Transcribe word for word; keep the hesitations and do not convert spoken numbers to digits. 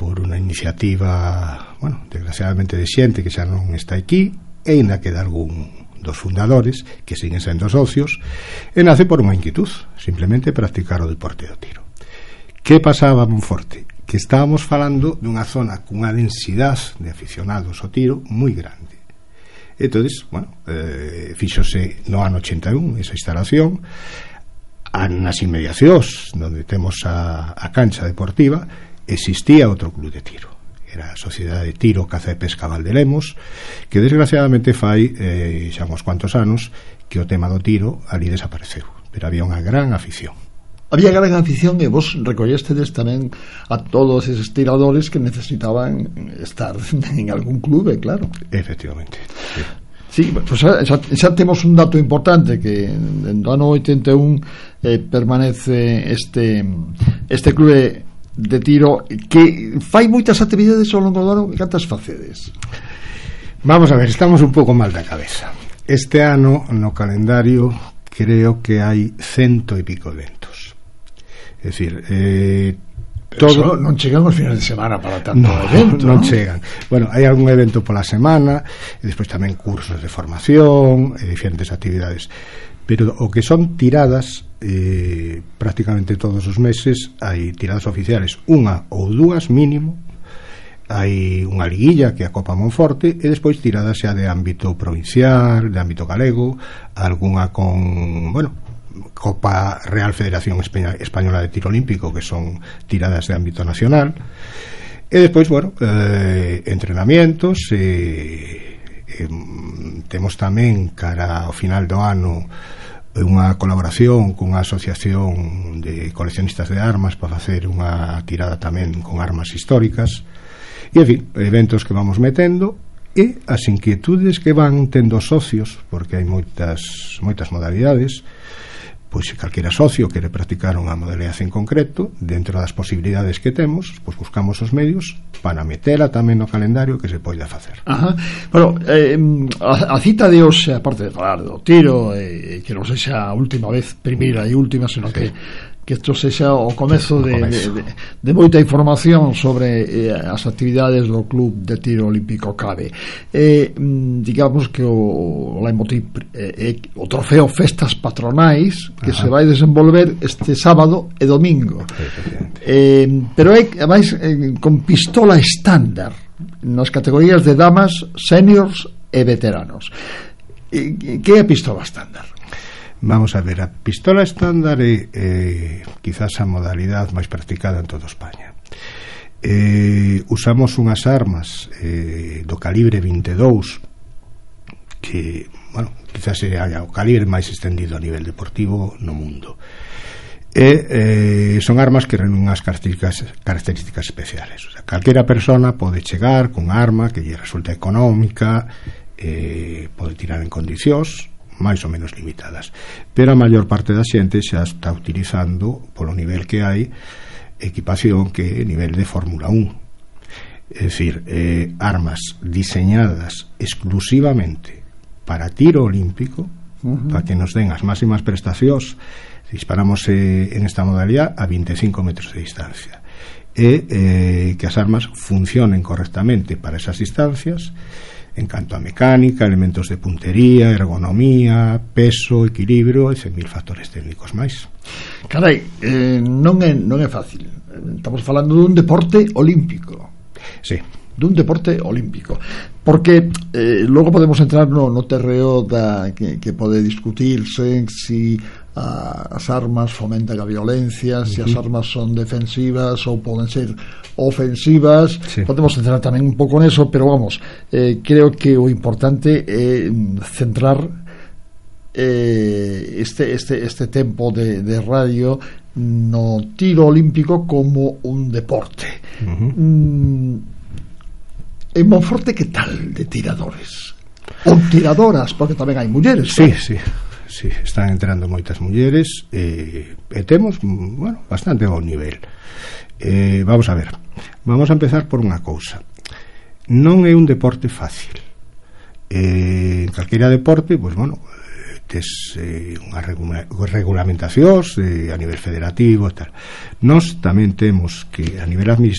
por unha iniciativa, bueno, desgraciadamente de xente que xa non está aquí, e ainda queda algún dos fundadores que siguen sendo socios, e nace por unha inquietud, simplemente practicar o deporte do tiro. Que pasaba en Monforte? Que estábamos falando dunha zona cunha densidade de aficionados ao tiro moi grande. Entonces, bueno, eh, fíxose no ano ochenta e un esa instalación nas inmediacións onde temos a, a cancha deportiva. Existía outro club de tiro, era a Sociedade de Tiro, Caza e Pesca Valdelemos, que desgraciadamente fai eh, xa uns cuantos anos que o tema do tiro ali desapareceu, pero había unha gran afición. Había gran afición e vos recollestedes tamén a todos eses tiradores que necesitaban estar en algún clube, claro. Efectivamente, sí. Sí, pues xa, xa temos un dato importante, que no ano oitenta e un eh, permanece este este clube de tiro que fai moitas actividades ao longo do ano. Cantas facedes? Vamos a ver, estamos un pouco mal da cabeza. Este ano no calendario creo que hai cento e pico eventos. É dicir, eh, todo... non chegan os finais de semana para tanto no, evento, non, non chegan. Bueno, hai algún evento pola semana e despois tamén cursos de formación e diferentes actividades, pero o que son tiradas, eh, prácticamente todos os meses hai tiradas oficiales, unha ou dúas mínimo, hai unha liguilla que é a Copa Monforte, e despois tiradas xa de ámbito provincial, de ámbito galego, algunha con, bueno, Copa Real Federación Española de Tiro Olímpico, que son tiradas de ámbito nacional, e despois, bueno, eh, entrenamientos, e eh, temos tamén cara ao final do ano unha colaboración cunha asociación de coleccionistas de armas para facer unha tirada tamén con armas históricas, e en fin, eventos que vamos metendo, e as inquietudes que van tendo socios, porque hai moitas moitas modalidades. Pois se calquera socio quere practicar unha modalidade en concreto, dentro das posibilidades que temos, pois buscamos os medios para metela tamén no calendario que se poida facer. Ajá. Bueno, eh, a, a cita de hoxe, aparte de falar do tiro, eh, que non sexa a última vez, primeira e última, senón sí. que que isto sexa o comezo de, de, de, de moita información sobre eh, as actividades do Club de Tiro Olímpico CABE. Eh, digamos que o, o leitmotiv eh, eh, o trofeo Festas Patronais que Ajá. se vai desenvolver este sábado e domingo. Eh, pero é, ademais, eh, con pistola estándar nas categorías de damas, seniors e veteranos. Eh, que é a pistola estándar? Vamos a ver, a pistola estándar é eh, quizás a modalidade máis practicada en toda España. Eh, usamos unhas armas eh, do calibre vinte e dous, que, bueno, quizás é o calibre máis extendido a nivel deportivo no mundo. E eh, son armas que reúnen unhas características, características especiales. O sea, calquera persona pode chegar con arma que lle resulta económica, eh, pode tirar en condicións máis ou menos limitadas, pero a maior parte da xente xa está utilizando, polo nivel que hai, equipación que é nivel de Fórmula un, é dicir, eh, armas diseñadas exclusivamente para tiro olímpico, uh-huh. para que nos den as máximas prestacións. Disparamos eh, en esta modalidad a vinte e cinco metros de distancia, e eh, que as armas funcionen correctamente para esas distancias en canto a mecánica, elementos de puntería, ergonomía, peso, equilibrio e cen mil factores técnicos máis. Carai, eh, non é non é fácil. Estamos falando dun deporte olímpico. Sí. Dun deporte olímpico. Porque eh, logo podemos entrar no, no terreo da, que, que pode discutirse si a, as armas fomentan a violencia, uh-huh. si as armas son defensivas ou poden ser ofensivas, sí. Podemos centrar tamén un pouco neso, pero vamos, eh, creo que o importante é centrar eh, este, este, este tempo de, de radio no tiro olímpico como un deporte. Uh-huh. mm, En Monforte, que tal de tiradores? Ou tiradoras, porque tamén hai mulleres. Sí, sí, sí, están entrando moitas mulleres, e, e temos, bueno, bastante bon nivel. Eh, vamos a ver, vamos a empezar por unha cousa. Non é un deporte fácil. Eh, en calquera deporte, pois, bueno, tes eh, unha regula- regulamentacións eh, a nivel federativo e tal. Nós tamén temos que, a nivel administrativo,